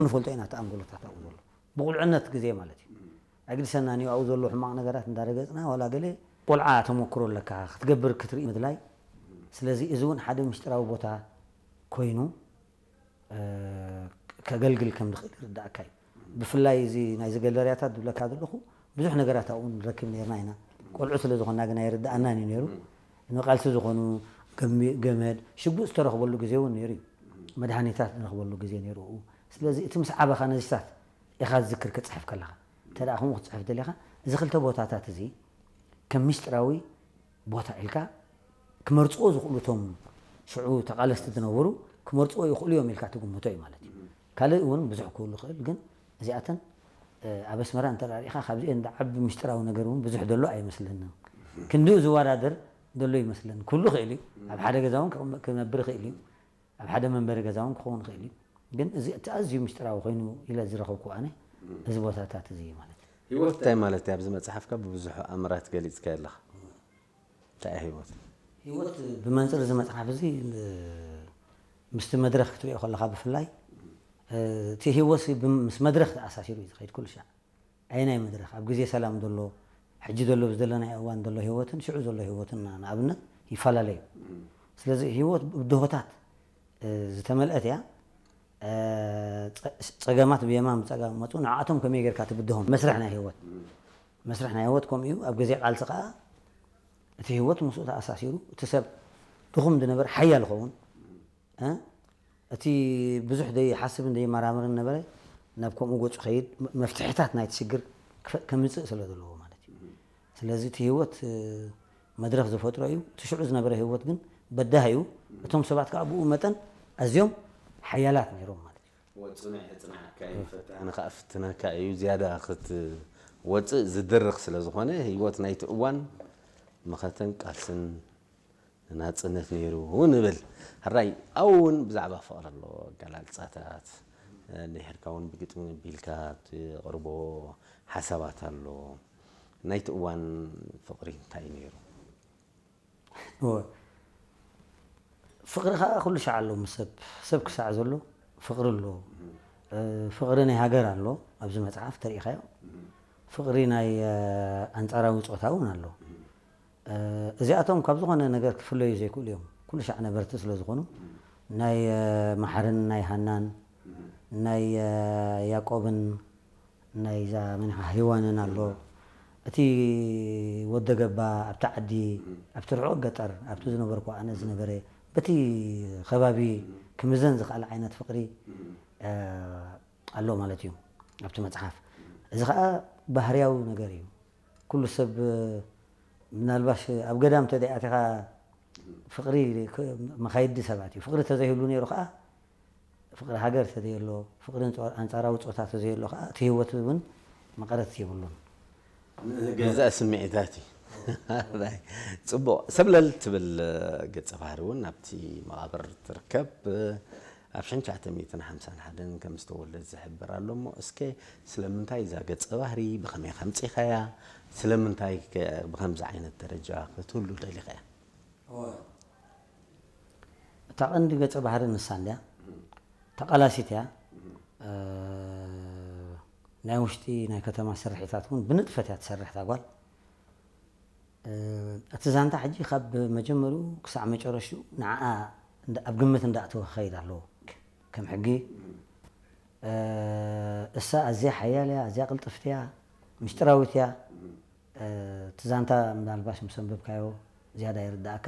ንፈልጦ ኢና እቲ ኣንጎሎታት ኣብኡ ዘሎ ብቑልዕነት ግዜ ማለት እዩ። ኣግድሰና ንዩ ኣብኡ ዘሎ ሕማቕ ነገራት እንዳረገጽና ዋላ ገለ ቆልዓ ተመክሮ ኣለካ ክትገብር ክትርኢ ምድላይ። ስለዚ እዚ እውን ሓደ ምስጢራዊ ቦታ ኮይኑ ከገልግል ከም ዝኽእል ይርዳእካ እዩ። ብፍላይ እዚ ናይዚ ገለርያታት ዝብለካ ዘለኹ ብዙሕ ነገራት ኣብኡ ንረክብ ነርና ኢና። ቆልዑ ስለ ዝኾንና ግን ኣይርዳኣናን እዩ ነይሩ። ንቃልሲ ዝኾኑ ገመድ ሽጉጥ ዝተረኽበሉ ግዜ እውን ነይሩ እዩ። መድሃኒታት ንረኽበሉ ግዜ ነይሩ። ስለዚ እቲ ምስ ዓበኻ ነዚታት ኢኻ ዝዝክር ክትፅሕፍ ከለኻ እንተ ደኣ ከምኡ ክትፅሕፍ ደሊኻ እዚ ክልተ ቦታታት እዚ ከም ምስጢራዊ ቦታ ኢልካ ክመርፅዎ ዝኽእሉ እቶም ሽዑ ተቓለስቲ ዝነበሩ ክመርፅዎ ይኽእሉ እዮም ኢልካ ትግምቶ እዩ ማለት እዩ። ካልእ እውን ብዙሕ ክህሉ ይኽእል ግን እዚኣተን ኣብ ኣስመራ እንተ ርኢኻ ካብዚአን ዓቢ ምስጢራዊ ነገር እውን ብዙሕ ዘሎ ኣይመስለንን። ክንዲኡ ዝወዳደር ዘሎ ይመስለኒ ክህሉ ይኽእል እዩ። ኣብ ሓደ ገዛ እውን ክነብር ይኽእል እዩ። ኣብ ሓደ መንበሪ ገዛ እውን ክኸውን ይኽእል እዩ። ግን እዚ እቲ ኣዝዩ ምስጢራዊ ኮይኑ ኢለ ዝረኸብኩ ኣነ እዚ ቦታታት እዚ እዩ ማለት እዩ። ህይወት እንታይ ማለት እዩ? ኣብዚ መጽሓፍካ ብብዙሕ ኣምራት ገሊጽካ ኣለኻ። እንታይ እያ ህይወት? ህይወት ብመንፅር እዚ መፅሓፍ እዚ ምስቲ መድረኽ ክትሪኦ ከለኻ ብፍላይ እቲ ህይወት ምስ መድረኽ ተኣሳሲሩ እዩ ዝኸይድ ኩሉ ሻዕ። ኣየናይ መድረኽ ኣብ ግዜ ሰላም ዘሎ ሕጂ ዘሎ ብዘለናይ እዋን ዘሎ ህይወትን ሽዑ ዘሎ ህይወትን ንኣብነት ይፈላለዩ። ስለዚ ህይወት ብድሆታት ዝተመልአት እያ። ፀገማት ብየማን ብፀጋም መፁ ንዓኣቶም ከመይ ጌርካ ትብድሆም መስርሕ ናይ ህይወት መስርሕ ናይ ህይወት ከምኡ እዩ። ኣብ ግዜ ቃልሲ ከዓ እቲ ህይወት ምስኡ ተኣሳሲሩ እቲ ሰብ ድኹም ዝነበር ሓያል ይኸውን። እቲ ብዙሕ ዘይሓስብን ዘይመራምርን ነበረ ናብ ከምኡ ገፁ ከይድ መፍትሕታት ናይቲ ሽግር ከምፅእ ስለ ዘለዎ ማለት እዩ። ስለዚ እቲ ህይወት መድረኽ ዝፈጥሮ እዩ። እቲ ሽዑ ዝነበረ ህይወት ግን በዳህ እዩ። እቶም ሰባት ከዓ ብኡ መጠን ኣዝዮም ሓያላት ነይሮም ማለት እዩ። ወፅኑዕ የፅንዓካ እዩ ፈታኒ ከዓ ፍትነካ እዩ ዝያዳ ክትወፅእ ዝድርኽ ስለ ዝኾነ ህይወት ናይቲ እዋን መኸተን ቃልስን ናጽነት ነይሩ ንብል። ሕራይ ኣብኡ እውን ብዛዕባ ፍቕሪ ኣሎ ኣገላልጻታት፣ እንድሕርካ እውን ብግጥሚ ኣቢልካ ትቕርቦ ሓሳባት ኣሎ። ናይቲ እዋን ፍቕሪ እንታይ ነይሩ? እወ። ፍቕሪ ከዓ ኩሉ ሻዕ ኣሎ ምስ ሰብ ሰብ ክሳዕ ዘሎ ፍቕሪ ኣሎ። ፍቕሪ ናይ ሃገር ኣሎ ኣብዚ መፅሓፍ ተሪኢኻዮ። ፍቕሪ ናይ ኣንፃራዊ ፆታ እውን ኣሎ። እዚኣቶም ካብ ዝኾነ ነገር ክፍለዩ ዘይክእሉ እዮም። ኩሉ ሻዕ ነበርቲ ስለ ዝኾኑ ናይ መሓርን ናይ ሃናን ናይ ያቆብን ናይዛ መኒኻ ሄዋንን ኣሎ። እቲ ወደ ገባ ኣብቲ ዓዲ ኣብቲ ርሑቕ ገጠር ኣብቲ ዝነበርኩ ኣነ ዝነበረ በቲ ከባቢ ክምዘን ዝኽኣል ዓይነት ፍቕሪ ኣሎ ማለት እዩ ኣብቲ መፅሓፍ። እዚ ከዓ ባህርያዊ ነገር እዩ። ኩሉ ሰብ ምናልባሽ ኣብ ገዳም ተደኣቲኻ ፍቕሪ መኻይዲ ሰባት እዩ። ፍቕሪ ተዘይህሉ ነይሩ ከዓ ፍቕሪ ሃገር ተዘየሎ ፍቕሪ ኣንፃራዊ ፆታ ተዘየሎ ከዓ እቲ ህይወት እውን መቐረት የብሉን። ገዛእ ስምዒታት እዩ። ፅቡቕ ሰብለል ትብል ገፀ ባህሪ እውን ኣብቲ መቓብር ትርከብ። ኣብ ሽሕን ትሽዓተ ሚእትን ሓምሳን ሓደን ከም ዝተወለደት ዝሕብር ኣሎ እሞ እስከ ስለምንታይ እዛ ገፀ ባህሪ ብኸመይ ከምፂኻያ ስለምንታይ ብኸምዚ ዓይነት ደረጃ ክትህሉ ደሊኻያ? እታ ቀንዲ ገፀ ባህሪ ንሳ እንድያ ተቓላሲት እያ። ናይ ውሽጢ ናይ ከተማ ስርሒታት እውን ብንጥፈት እያ ትሰርሕ እታ ጓል። እቲ ዛንታ ሕጂ ካብ መጀመሪኡ ክሳዕ መጨረሽኡ ንዓኣ ኣብ ግምት እንዳእተወ ክኸይድ ኣለዎ። ከም ሕጊ እሳ ኣዝያ ሓያል እያ፣ ኣዝያ ቅልጥፍቲ እያ፣ ምስጢራዊት እያ። እቲ ዛንታ ምናልባሽ ምስ ኣንበብካዮ ዝያዳ ይርዳእካ።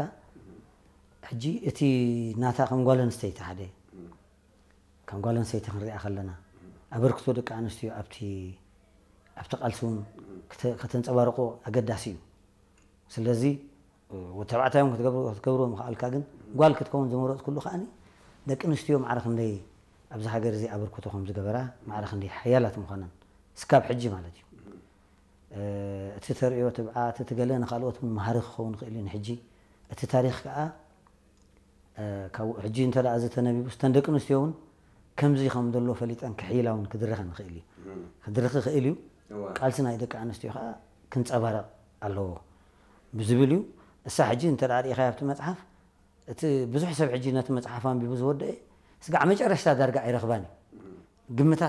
ሕጂ እቲ ናታ ከም ጓል ኣንስተይቲ ሓደ ከም ጓል ኣንስተይቲ ክንሪኣ ከለና ኣበርክቶ ደቂ ኣንስትዮ ኣብቲ ኣብቲ ቃልሲ እውን ከተንፀባርቆ ኣገዳሲ እዩ። ስለዚ ተባዕታዮም ክትገብርዎ ምኽኣልካ ግን ጓል ክትከውን ዝመረፅኩሉ ከዓኒ ደቂ ኣንስትዮ ማዕረ ክንደይ ኣብዚ ሃገር እዚ ኣበርክቶ ከም ዝገበራ ማዕረ ክንደይ ሓያላት ምዃነን እስካብ ሕጂ ማለት እዩ። እቲ ተርእዮ ትብዓት እቲ ገለ ንካልኦት እውን መሃሪ ክኸውን ይኽእል እዩ ንሕጂ እቲ ታሪኽ ከዓ ካብ ሕጂ እንተ ደኣ እዚ ተነቢቡ እተን ደቂ ኣንስትዮ እውን ከምዚ ከም ዘሎ ፈሊጠን ክሕይላ እውን ክድረኸን ይኽእል እዩ ክድርኽ ይኽእል እዩ። ቃልሲ ናይ ደቂ ኣንስትዮ ከዓ ክንፀባረቕ ኣለዎ ብዝብል እዩ። እሳ ሕጂ እንተ ደኣ ርኢኻዮ ኣብቲ መፅሓፍ እቲ ብዙሕ ሰብ ሕጂ ነቲ መፅሓፍ ኣንቢቡ ዝወደአ ስጋዕ መጨረሽታ ዳርጋ ኣይረኽባን እዩ ግምታት